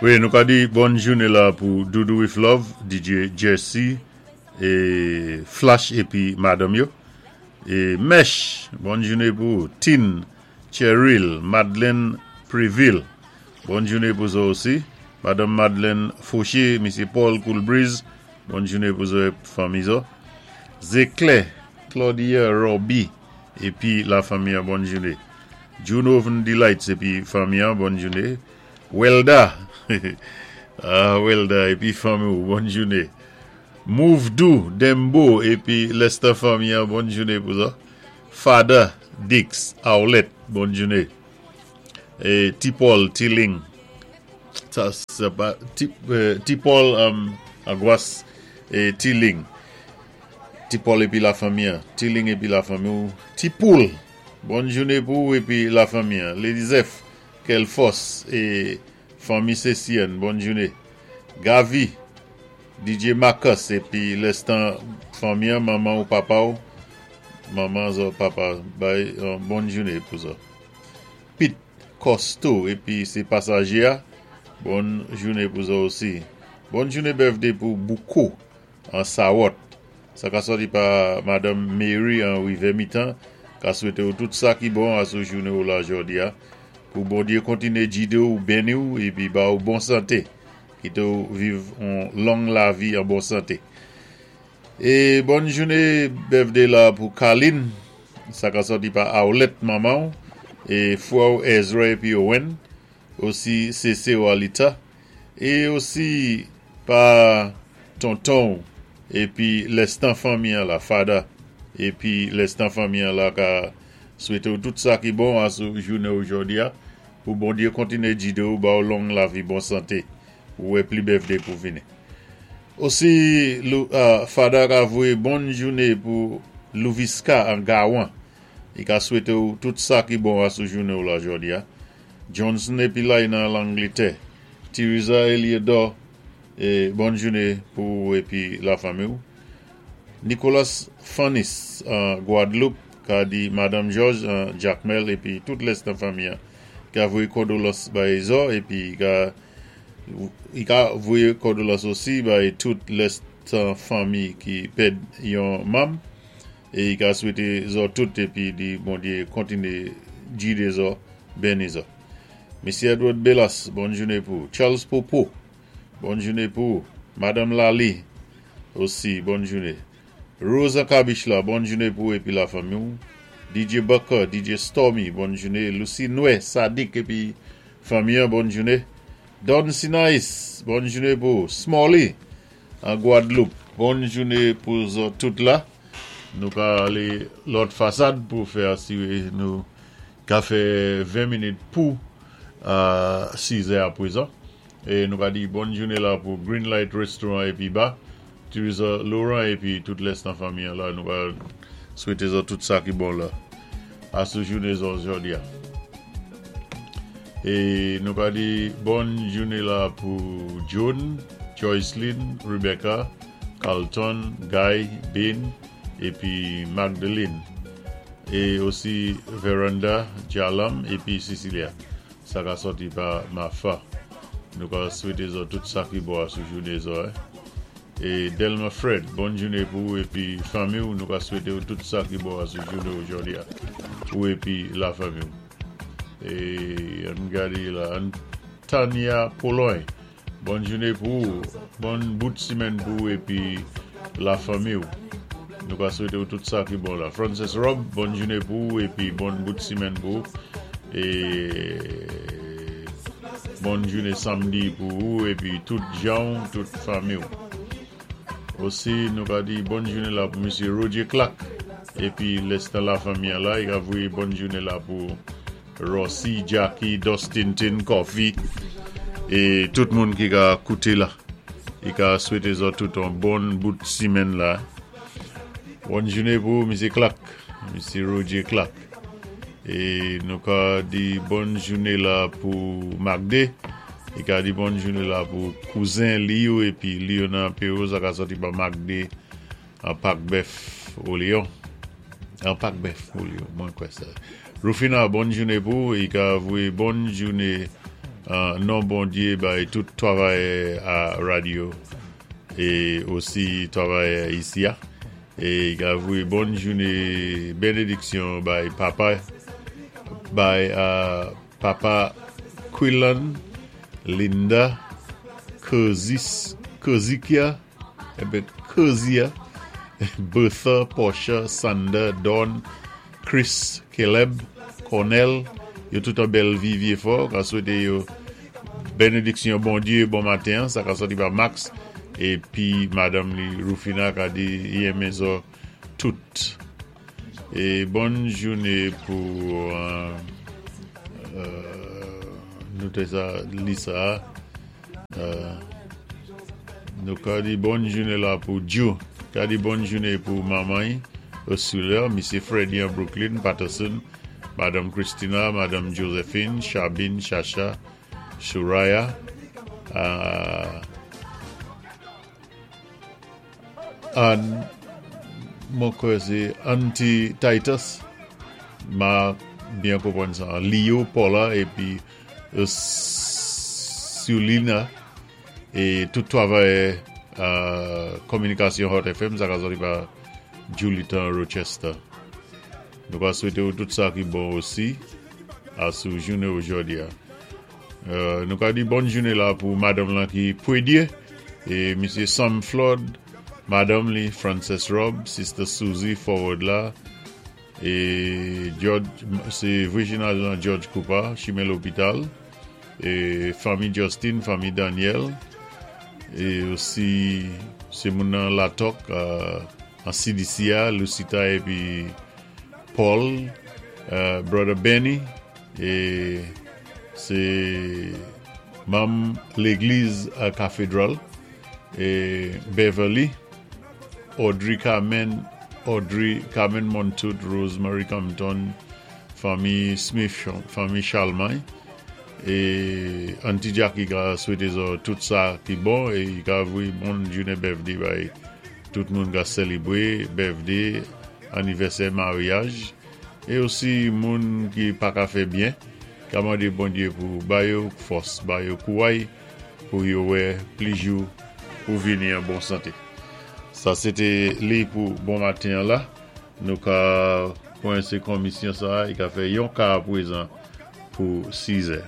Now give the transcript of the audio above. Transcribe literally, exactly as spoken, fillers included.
Wi, nou ka di bòn jouné la pou Doudou with Love, D J Jesse, é Flash épi madanm yo. É Mesh, bòn jouné pou Tin, Cheryl, Madeleine Preville. Bòn jouné pou zò osi. Madanm Madeleine Fauché, Misyé Paul Coolbreeze, bòn jouné pou zò fanmi zò. Zéclé, Claudia Robbie, épi la fanmi, bòn jouné. Juno Delights, épi fanmi, bòn jouné. Welda, ah, Welda, épi fanmi, bòn jouné. Move Do, Dembo, épi Lester fanmi, bòn jouné pou sa. Fada, Dix, Owlet, bòn jouné. É T. Paul, Tilling, sa, sa pa, T, euh, T. Paul um, Aguas é Tilling. T. Paul épi la fanmi, Tilling épi la fanmi. T. Poul, bòn jouné pou épi la fanmi. Lady Zeph, quelle force é fanmi Cécienne, bòn jouné. Gavi, D J Marcus épi Lestan fanmi, manman ou papa ou, manman ou papa, bay, euh, bòn jouné pou sa. Pete Costo épi sé pasajé, bòn jouné pou sa osi. Bòn jouné birthday pou Boukou an Sawot. Sa ka sòti pa Madanm Mary an Rivyè Mitan, ka swété ou tout sa ki bon asou jouné ou la jòdi a. Pou Bondyé kontiné jidé ou, béni ou épi ba ou bon santé. Kité ou viv yon long lavi an bon santé. É bòn jouné birthday la pou Kaline. Sa ka sòti pa Aolet manman é frè Ezra épi Owen. Osi C C ou Alita. É osi pa tonton épi Lestan fanmi la Fada épi Lestan fanmi la ka swété ou tout sa ki bon asou jouné jòdi a pou Bondyé kontiné jidé ou, ba ou long lavi, bon santé ou wè pli birthday pou vini. Osi Lou, uh, Fada ka voyé bòn jouné pou Louviska an Gawan. I ka swété ou tout sa ki bon asou jouné ou la jòdi a. Johnson épi la nan Langlétè. Teresa Eliodor é bòn jouné pou épi la fanmi ou. Nicolas Fanis an Guadeloupe ka di Madanm George an Jacmel épi tout lès nan fanmi ka voyé kondóléyans bay zò épi ka i ka voyé kondóléyans osi bay tout lès fanmi ki pèd yon manm é i ka swété zò tout épi di Bondyé kontiné jidé zò, béni zò. Misyé Edward Bellas, bòn jouné pou Charles Popo, bòn jouné pou Madanm Lali osi, bòn jouné. Rosa Kabich la, bòn jouné pou épi la fanmi. D J Bucker, D J Stormy, bòn jouné. Lucie Noué, Sadik épi fanmi, bòn jouné. Don Sinais, bòn jouné pou Smalley an Guadeloupe. Bòn jouné pou zò tout la. Nou ka alé lòt fasad pou fè asiré nou ka fè ven minit pou euh, sis è aprezan. É nou ka di bòn jouné la pou Green Light Restaurant épi bar. Teresa Laurent épi tout lès nan fanmi la, nou ka swété zò tout sa ki bon la asou jouné zò jòdi a. É nou ka di bòn jouné la pou John, Joycelyn, Rebecca, Carlton, Guy, Ben épi Magdalene. É osi Veranda, Jalam épi Cecilia. Sa ka sòti pa Mafa. Nou ka swété zò tout sa ki bon asou jouné zò. Hein. É Delma Fred, bòn jouné pou épi fanmi, nou ka swété tout sa ki bon asou jouné jòdi a. Ou épi la fanmi. É ann gadé la, Tania Pologne, bòn jouné pou, bon bout simèn pou épi la fanmi. Nou ka swété tout sa ki bon la. Francis Rob, bòn jouné pou épi bon bout simèn pou é bòn jouné samdi pou ou épi tout jan, tout fanmi. Osi, nou ka di bòn jouné la pou Misyé Roger Clark. Épi, Lester la fanmi la, i ka voyé bòn jouné la pou Rossi, Jackie, Dustin Tin, Coffee é tout moun ki ka kouté la. I ka swété zò tout yon bon bout simèn la. Bòn jouné pou Misyé Clark, Misyé Roger Clark. É nou ka di bòn jouné la pou Magde. I ka di bòn jouné la pou kouzen Leo épi Leona Perrault, sa ka sòti pa Magde an Pak Bèf au Lion. An Pak Bèf au Lion, mwen kwè sa. Rufina, bòn jouné pou i ka voyé bòn jouné. An non Bondyé bay tout twavayè a radyo é osi twavayè isi a. É i ka voyé bòn jouné bénédiksyon bay papa bay euh, papa Quillan, Linda, Kozis, Kozikia, ében Kozia, Bertha, Portia, Sander, Don, Chris, Caleb, Cornell, yo tout an Bellevue Vieux-Fort, ka swété yo bénédiksyon Bondyé bon maten, sa ka sòti pa Max épi madanm li Rufina ka di i renmen zo tout. É bòn jouné pou euh, euh, nou té sa Lisa euh, nou ka di bòn jouné la pou Joe, ka di bòn jouné pou manman Ursula, Misye Freddy an Brooklyn, Patterson, Madanm Christina, Madanm Josephine, Chabine, Chacha, Shuraya, euh, Ann, mwen kwè sé Auntie Titus, ma byen konpwann sa, Leo, Paula, épi Sulina, é tout twavayè euh, kominikasyon Hot F M, sa ka sòti pa Julieta Rochester. Nou ka swété ou tout sa ki bon osi a sou jouné ojòdi a. Euh, nou ka di bòn jouné la pou madanm lan ki Pwédyé é Misye Sam Flood, madanm li Frances Rob, Sister Susie Forward la é George, sé Virginia lan George Cooper, chimen lopital é fanmi Justin, fanmi Daniel é osi sé moun nan Latok euh, an C D C A, Lucita épi Paul, euh, Brother Benny é sé manm légliz à Cathedral é Beverly, Audrey Carmen, Audrey Carmen Montout, Rosemary Compton, fanmi Smith, fanmi Charlemagne é Auntie Jackie ka swété zo tout sa ki bon é i ka voyé bon jouné birthday bay tout moun ka sélébwé birthday, anivèsè maryaj é osi moun ki pa ka fè byen ka mandé Bondyé pou ba yo fòs, ba yo kouway pou yo wè plis jou pou vini an bon santé. Sa sé té li pou bon maten la. Nou ka kwense komisyon sa, i ka fè yon ka prezan pou sis è.